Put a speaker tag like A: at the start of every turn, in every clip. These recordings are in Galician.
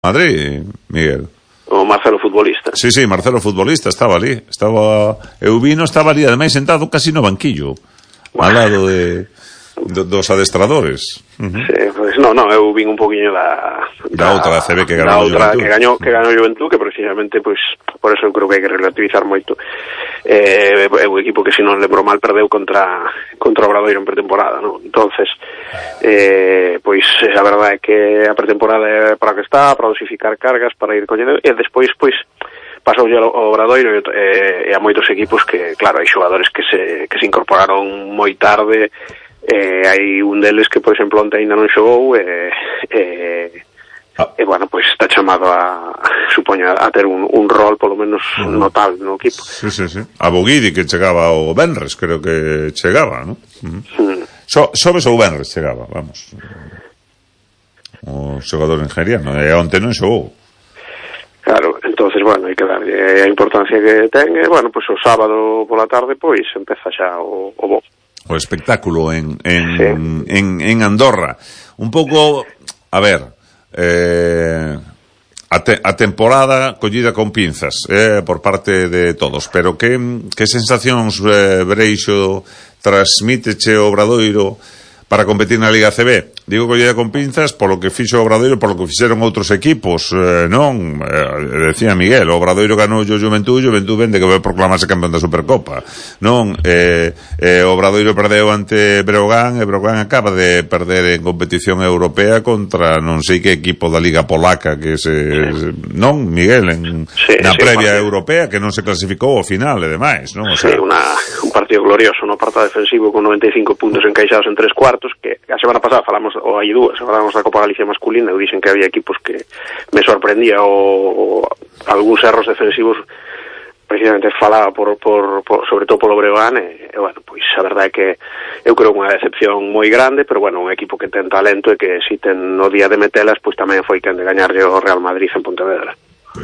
A: Madrid, Miguel.
B: O Marcelo futbolista.
A: Sí, Marcelo futbolista estaba ali. Eubino estaba ali, ademais sentado casi no banquillo, ao lado dos adestradores.
B: Sí, pues no, eu vin un poquinho da
A: outra ACB que ganou
B: Juventud. Que ganou Juventud, que precisamente, pois, por eso eu creo que hai que relativizar moito. É un equipo que, se non lembro mal, perdeu contra Obradoiro en pretemporada, non? Entonces, pois, a verdade é que a pretemporada é para que está, para dosificar cargas, para ir collendo, e despois, pois, pasou ao Obradoiro e a moitos equipos que, claro, hai xogadores que se incorporaron moi tarde. Hai un deles que, por exemplo, onte ainda non xogou bueno, pois está chamado supoño, a ter un rol polo menos notable no equipo.
A: Sí. A Boguidi, que chegaba o Benres, creo que chegaba, non? Sobes ou Benres chegaba, vamos, o xogador nigeriano, e onte non xogou.
B: Claro, entonces, bueno, hai que darlle a importancia que ten, e, bueno, pois o sábado pola tarde, pois, empeza xa o bo.
A: O espectáculo en Andorra. Un pouco, a ver, a temporada collida con pinzas por parte de todos, pero que sensacións, Breixo, transmíteche o Obradoiro para competir na Liga ACB? Digo collida con pinzas polo que fixo o Obradoiro, polo que fixeron outros equipos, non? Decía Miguel, o Obradoiro ganou o Juventud vende que vai proclamarse campeón da Supercopa, non? O Obradoiro perdeu ante Breogán, e Breogán acaba de perder en competición europea contra non sei que equipo da Liga Polaca, que non, Miguel, na previa europea, que non se clasificou ao final e demais, non? O sea,
B: un partido glorioso no apartado defensivo con 95 puntos encaixados en 3 cuartos, que a semana pasada falamos, ou hai dúas, falamos da Copa Galicia masculina, e dixen que había equipos que me sorprendía o algúns erros defensivos, precisamente falaba sobre todo polo Breogán, e bueno, pois a verdade é que eu creo unha decepción moi grande, pero bueno, un equipo que ten talento e que si ten no día de metelas, pois tamén foi quen de gañarlle o Real Madrid en Pontevedra.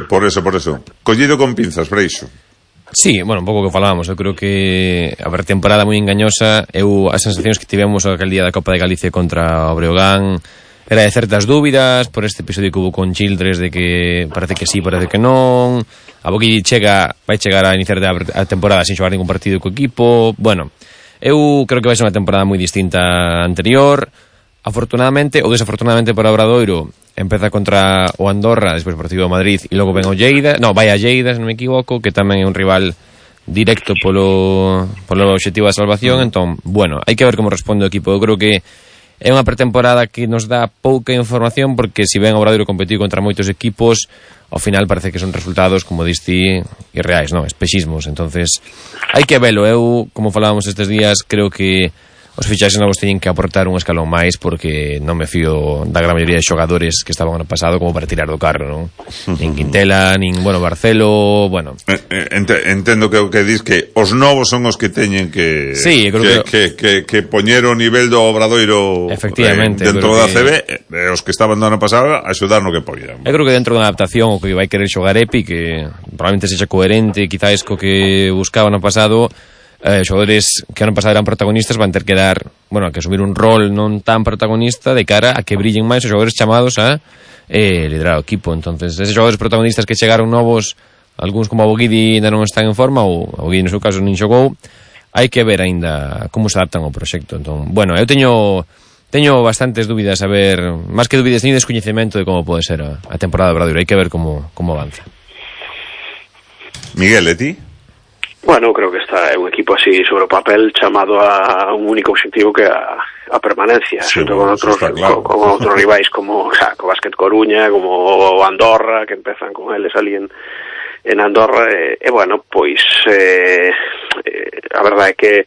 A: Por eso. Collido con pinzas, Breixo.
C: Sí, bueno, un pouco que falábamos. Eu creo que a temporada moi engañosa. As sensacións que tivemos aquel día da Copa de Galicia contra o Breogán era de certas dúbidas por este episodio que hubo con Childress, de que parece que sí, parece que non. A Boqui vai chegar a iniciar a temporada sin xogar ningún partido co equipo. Bueno, eu creo que vai ser unha temporada moi distinta á anterior. Afortunadamente ou desafortunadamente para o Obradoiro, empeza contra o Andorra, despois o partido do Madrid, e logo ven o Lleida, vai a Lleida, se non me equivoco, que tamén é un rival directo polo obxectivo da salvación. Entón, bueno, hai que ver como responde o equipo. Eu creo que é unha pretemporada que nos dá pouca información, porque se ven o Obradoiro competir contra moitos equipos, ao final parece que son resultados, como diste, irreais, non? Espexismos. Entonces, hai que velo. Eu, como falábamos estes días, creo que os fichaxes novos teñen que aportar un escalón máis, porque non me fío da gran maioría de xogadores que estaban ano pasado como para tirar do carro, non? Nin Quintela, nin, bueno, Barcelo, bueno.
A: Entendo que o que dis que os novos son os que teñen que poñer o nivel do Obradoiro dentro da CB, os que estaban do ano pasado axudar no que poñan.
C: Eu creo que dentro da adaptación o que vai querer xogar Epi, que probablemente sexa coherente quizás co que buscaba no pasado, xogadores que ano pasado eran protagonistas van ter que dar, bueno, que asumir un rol non tan protagonista de cara a que brillen máis os xogadores chamados a liderar o equipo. Entonces, esos xogadores protagonistas que chegaron novos, algúns como a Boguidi ainda non están en forma, ou a Boguidi no seu caso nin xogou, hai que ver ainda como se adaptan ao proxecto. Entón, bueno, eu teño bastantes dúbidas, a ver, máis que dúbidas, teño descoñecemento de como pode ser a temporada de Obradoiro. Hai que ver como avanza.
A: Miguel, e ti?
B: Bueno, creo que é un equipo así sobre o papel chamado a un único objetivo, que a permanencia, xunto con outros rivais como o Básquet Coruña, como o Andorra, que empezan con eles ali en Andorra, e bueno, pois a verdade é que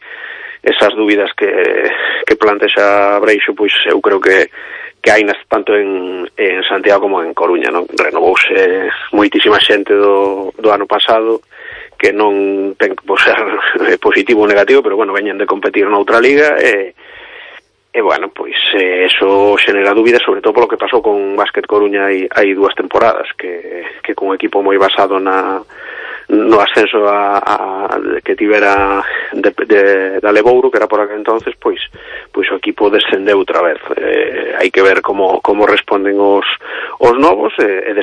B: esas dúbidas que plantexa Breixo, pois eu creo que hai tanto en Santiago como en Coruña, non? Renovouse moitísima xente do ano pasado, que non ten que ser positivo ou negativo, pero bueno, veñen de competir noutra liga, e bueno, pois eso xenera dúbidas, sobre todo polo que pasou con Básquet Coruña hai 2 temporadas, que con un equipo moi basado no ascenso que tivera da Lebouro, que era por aquel entonces, pois o equipo descendeu outra vez. Hai que ver como responden os novos, e despois